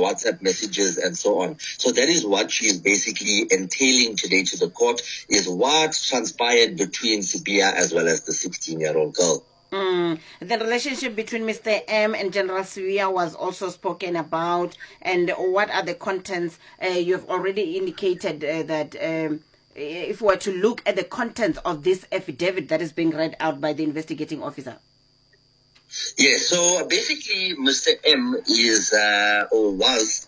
WhatsApp messages and so on. So that is what she is basically entailing today to the court, is what transpired between Sibiya as well as the 16-year-old girl. The relationship between Mr. M and General Sibiya was also spoken about. And what are the contents? You have already indicated that if we were to look at the contents of this affidavit that is being read out by the investigating officer. Yes, so basically Mr. M is or was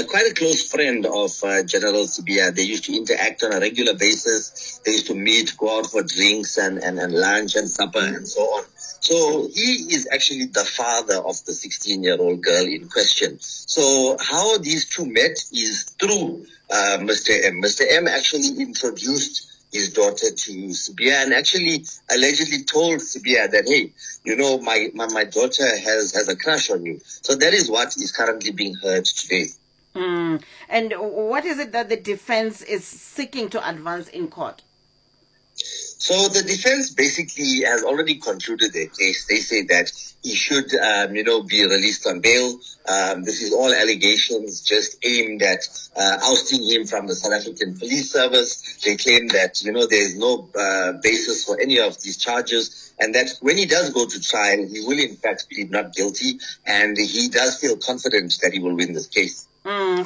quite a close friend of General Sibiya. They used to interact on a regular basis. They used to meet, go out for drinks and lunch and supper and so on. So he is actually the father of the 16-year-old girl in question. So how these two met is through Mr. M. Mr. M actually introduced his daughter to Sibiya and actually allegedly told Sibiya that, hey, my daughter has a crush on you. So that is what is currently being heard today. And what is it that the defense is seeking to advance in court? So the defense basically has already concluded their case. They say that he should, be released on bail. This is all allegations just aimed at ousting him from the South African Police Service. They claim that, there is no basis for any of these charges, and that when he does go to trial, he will in fact plead not guilty, and he does feel confident that he will win this case.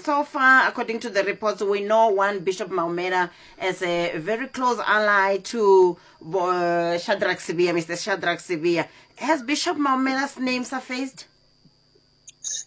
So far, according to the reports, we know one Bishop Maumela as a very close ally to Shadrack Sibiya, Mr. Shadrack Sibiya. Has Bishop Maumela's name surfaced?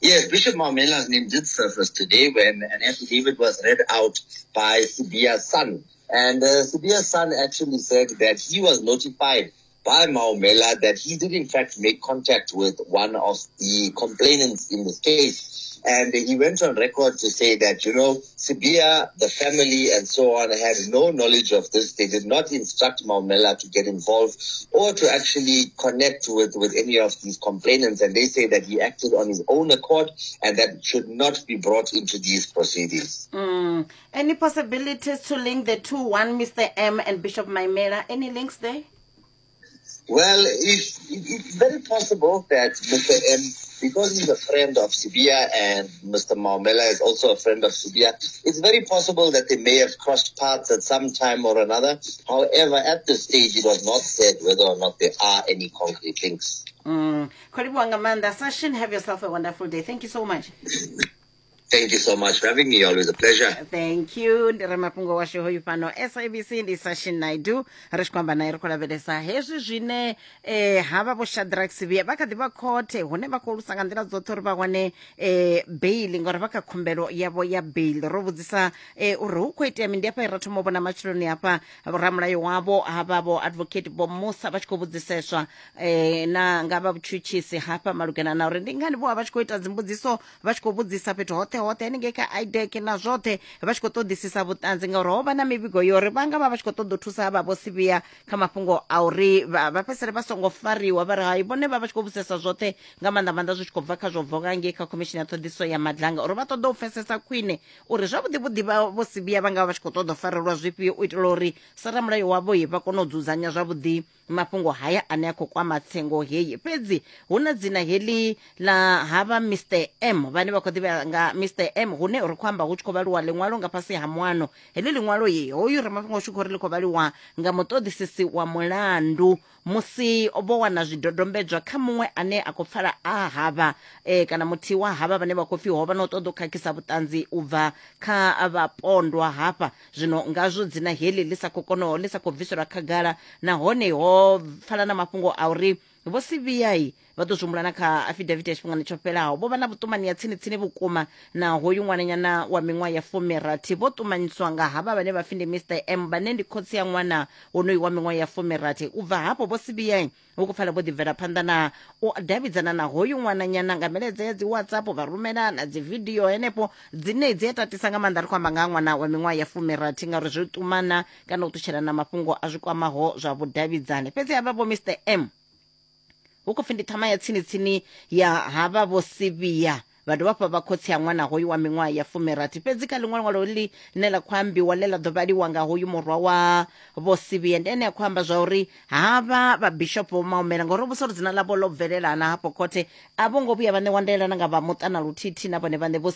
Yes, Bishop Maumela's name did surface today when an affidavit was read out by Sibiya's son. And Sibiya's son actually said that he was notified by Maumela that he did in fact make contact with one of the complainants in this case. And he went on record to say that, Sibiya, the family and so on had no knowledge of this. They did not instruct Maumela to get involved or to actually connect with any of these complainants. And they say that he acted on his own accord and that should not be brought into these proceedings. Any possibilities to link the two, one Mr. M and Bishop Maumela? Any links there? It's very possible that Mr. M, because he's a friend of Sibiya and Mr. Maumela is also a friend of Sibiya, it's very possible that they may have crossed paths at some time or another. However, at this stage, it was not said whether or not there are any concrete links. Kholibuwa Manda, Sashin, have yourself a wonderful day. Thank you so much. Thank you so much for having me. Always a pleasure. Thank you. Ndi ramafhungo washu hoyu fhano SABC ndi Sashin Naidu ri tshi khou amba naye ri khou lavhelesa hezwi zwine havha vho Shadrack Sibiya vha kha ḓi vha khothe hune vha khou lusa nga nḓila dzoṱhe uri vha wane bail ngori vha kha khumbelo yavho ya bail. Ro vhudzisa uri hu khou itea mini, ndi hafha ra thoma u vhona matsheloni hafha ramulayo wavho havha vho advocate vho Musa vha tshi khou vhudziseswa na nga vha vhutshutshisi hafha malugana na uri ndi ngani vho vha tshi khou ita dzimbudziso vha tshi khou vhudzisa fhethu hoṱhe hoṱhe haningei kha IDAC na zwoṱhe vha tshi khou ṱoḓisisa vhuṱanzi ngauri ho vha na mivhigo yo uri vha nga vha vha tshi khou ṱoḓa u thusa havha vho Sibiya kha mafhungo a uri vha fhedzisele vha songo fariwa vha ri hai vhone vha vha tshi khou vhudzisesa zwoṱhe nga maanḓa maanḓa zwi tshi khou bva kha zwo bvaho ngei kha khomishini ya ṱhoḓisiso ya Madlanga uri vha ṱoḓa u pfesesa khwine uri zwavhuḓi vhuḓi vha vho Sibiya vha nga vha tshi khou ṱoḓa u farelwa zwifhio u itela uri sa ramulayo wavho vha kone u dzudzanya zwavhuḓi mafhungo haya ane a khou kwama tsengo heyi. Fhedzi hu na dzina heḽi ḽa havha Mr M vhane vha khou ḓivha nga Mr M hune ri khou amba hu tshi khou vhaliwa ḽiṅwalo nga fhasi ha muano. Heḽi ḽiṅwalo ye hoyu ramafhungo tshi khou ri ḽi khou vhaliwa nga muṱoḓisisi wa mulandu musi vho wana zwidodombedzwa kha muṅwe ane a khou pfala a havha kana muthihi wa havha vhane vha khou pfi ho vha na u ṱoḓa u khakhisa vhuṱanzi u bva kha vhapondwa hafha. Zwino ngazwo dzina heḽi ḽi sa khou kona ḽi sa khou bviselwa khagala nahone ho pfala na mafhungo a uri vho Sibiya vha ḓo zwi na kha affidavit ya tshifhingani tsho fhelaho vho vha na vhuṱumani ya tsini tsini vhukuma na hoyu ṅwananyana wa miṅwaha ya 60 vho ṱumanyiswa nga havha vhane vha pfi ndi Mr M vhane ndi khotsi ya ṅwana wonoyu wa miṅwaha ya 60. U bva hafho vho Sibiya hu khou pfala vho ḓi bvela phanḓa na u davhidzana na hoyu ṅwananyana nga milaedza ya dzi WhatsApp vha rumela na dzi video henefho dzine dzi a tatisa nga maanḓa. Ri khou amba nga ṅwana wa miṅwaha ya 60 ngauri zwi ṱumana kana u ṱutshelana mafhungo a zwi kwamaho zwa vhudavhidzani. Fhedzi havha vho Mr M hu khou pfi ndi ṱhama ya tsini tsini ya havha vho Sibiya vha dovha hafhu vha khotsi ya ṅwana hoyu wa miṅwaha ya 60. Fhedzi kha ḽiṅwe ṅwalo ḽi ḽine ḽa khou ambiwa ḽe ḽa ḓo vhaliwa nga hoyu murwa wa vho Sibiya ndi ene a khou amba zwa uri havha vha Bishop Vho Maumela ngauri vho uri dzina ḽavho ḽo bvelelana hafho khothe a vho ngo vhuya vha ṋewa ndaela na nga vha muṱa na luthihi na vhone vhaṋe vho